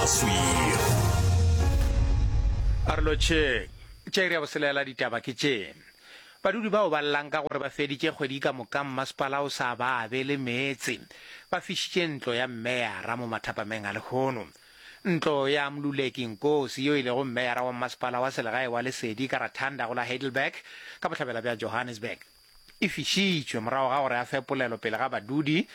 Mosweu. A re lotšheng. Tša iri ya boselela ditaba ke tše. Badudi bao ba llang ka gore ba feditše kgwedi ka moka mmasepala o sa ba abele meetse, ba fišitše ntlo ya mmeyara mo mathapameng a lehono. Ntlo ya Mluleki Nkosi yo e lego mmeyara wa mmasepala wa selegae wa Lesedi ka Rathanda go la Heidelberg ka bohlabela bja Johannesburg e fišitšwe morago ga gore a fe polelo pele ga badudi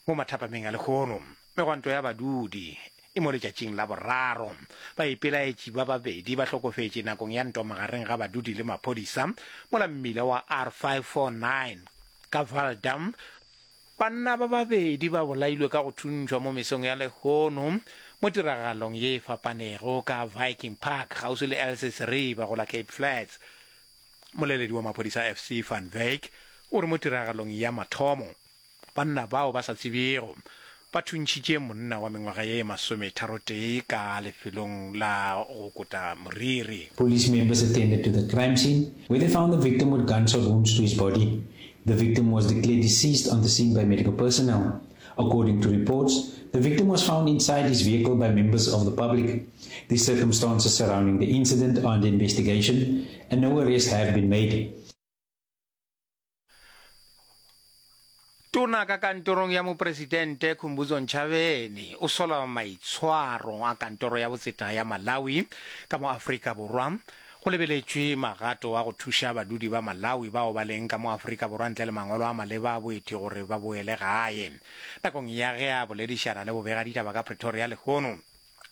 mo mathapameng a lehono. Megwanto ya badudi e mo letšatšing la boraro. Baipelaetši ba babedi ba hlokofetše nakong ya ntwa magareng ga badudi le maphodisa mola mmila wa R549 ka Vaaldam Banna ba babedi ba bolailwe ka go thuntšhwa mo mesong ya lehono mo tiragalong ye e fapanego ka Viking Park kgauswi le Elsies River go la Cape Flats. Moleledi wa maphodisa FC van Wyk o re mo tiragalong ya mathomo, banna bao ba sa tsebjego ba thuntšhitše monna wa mengwaga ye masometharotee ka lefelong la go kota moriri. Police members attended to the crime scene where they found the victim with gunshot wounds to his body. The victim was declared deceased on the scene by medical personnel. According to reports, the victim was found inside his vehicle by members of the public. The circumstances surrounding the incident are under investigation and no arrests have been made. Tona ka kantorong ya Mopresidente Khumbudzo Ntshavheni o sola maitshwaro a kantoro ya botseta ya Malawi ka mo Afrika Borwa go lebeletšwe magato a go thuša badudi ba Malawi bao ba leng ka mo Afrika Borwa ntle le mangwalo a maleba a boeti gore ba boele gae. Nakong ya ge a boledišana le bobegaditaba ka Pretoria lehono,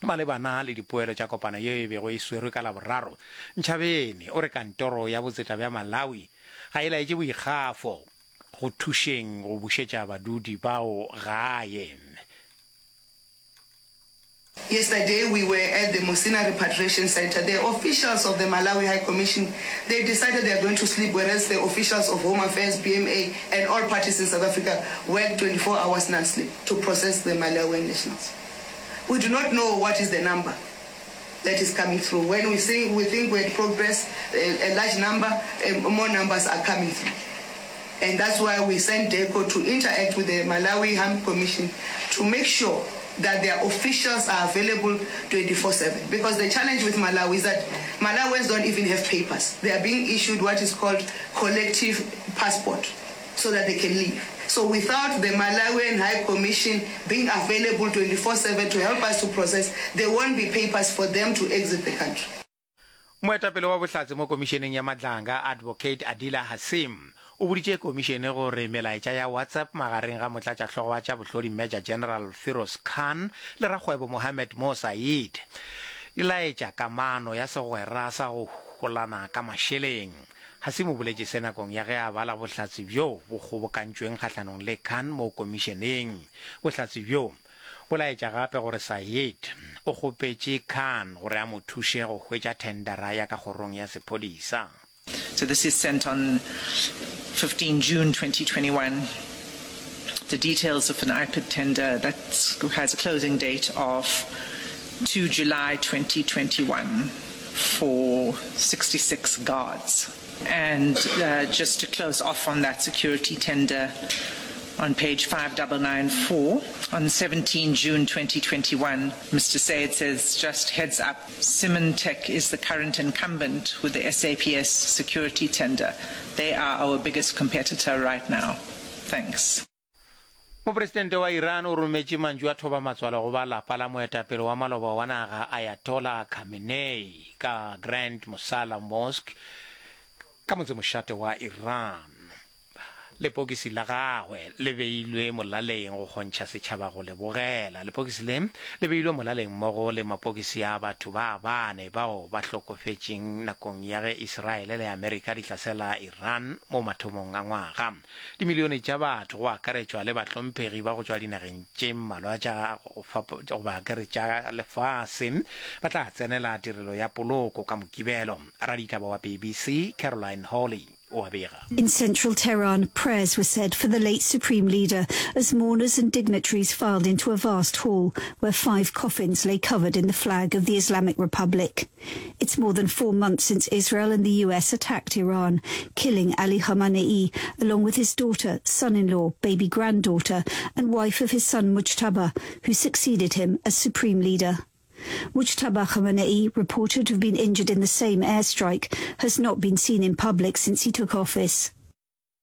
Malebana le dipoelo tša kopano yeo e bego e swerwe ka Laboraro, Ntshavheni o re kantoro ya botseta bja Malawi ga e laetše boikgafo go thušeng go bušetša badudi bao gae. Yesterday we were at the Musina Repatriation Centre. The officials of the Malawi High Commission, they decided they are going to sleep whereas the officials of Home Affairs, BMA and all parties in South Africa work 24 hours non-sleep to process the Malawian nationals. We do not know what is the number that is coming through. When we think we, think we had progress, a, a large number, more numbers are coming through. And that's why we sent DECO to interact with the Malawi High Commission to make sure that their officials are available 24-7. Because the challenge with Malawi is that Malawians don't even have papers. They are being issued what is called collective passport so that they can leave. So without the Malawian High Commission being available 24-7 to help us to process, there won't be papers for them to exit the country. Moetapele wa bohlatse mo komišeneng ya Madlanga, Advocate Adila Hassim, o boditše komišene gore melaetša ya WhatsApp magareng ga motlatšahlogo wa tša bohlodi Major General Firoz Khan le rakgwebo Mohammed Mo Saeed di laetša kamano ya segwera sa go holana ka mašeleng. Hasim o boletše se nakong ya ge a bala bohlatse bjo bo kgobokantšweng kgahlanong le Khan mo komišeneng. Bohlatse bjo bo laetša gape gore Saeed o kgopetše Khan gore a mo thuše go hwetša thendara ya ka kgorong ya sephodisa. So this is sent on 15 June 2021. The details of an IPID tender that has a closing date of 2 July 2021. for 66 guards. And uh, just to close off on that security tender, on page 5994, on 17 June 2021, Mr. Sayed says, just heads up, Symantec is the current incumbent with the SAPS security tender. They are our biggest competitor right now. Thanks. Mopresidente wa Iran o rometše mantšu a thobamatswalo go ba lapa la moetapele wa maloba wa naga Ayatollah Khamenei ka Grand Mosala Mosque ka motsemošate wa Iran. Lepokisi la gagwe le beilwe molaleng go kgontšha setšhaba go le bogela. Lepokisi le le beilwe molaleng mmogo le mapokisi a batho ba bane bao ba hlokofetšeng nakong ya ge Israele le Amerika di hlasela Iran mo mathomong a ngwaga. Dimilione tša batho, go akaretšwa le bahlomphegi ba go tšwa dinageng tše mmalwa tša goba ke re tša lefase, ba tla tsenela tirelo ya poloko ka Mokibelo. Raditaba wa BBC Caroline Hawley o a bega. In central Tehran, prayers were said for the late supreme leader as mourners and dignitaries filed into a vast hall where five coffins lay covered in the flag of the Islamic Republic. It's more than four months since Israel and the US attacked Iran, killing Ali Khamenei along with his daughter, son-in-law, baby granddaughter and wife of his son Mujtaba, who succeeded him as supreme leader. Mujtaba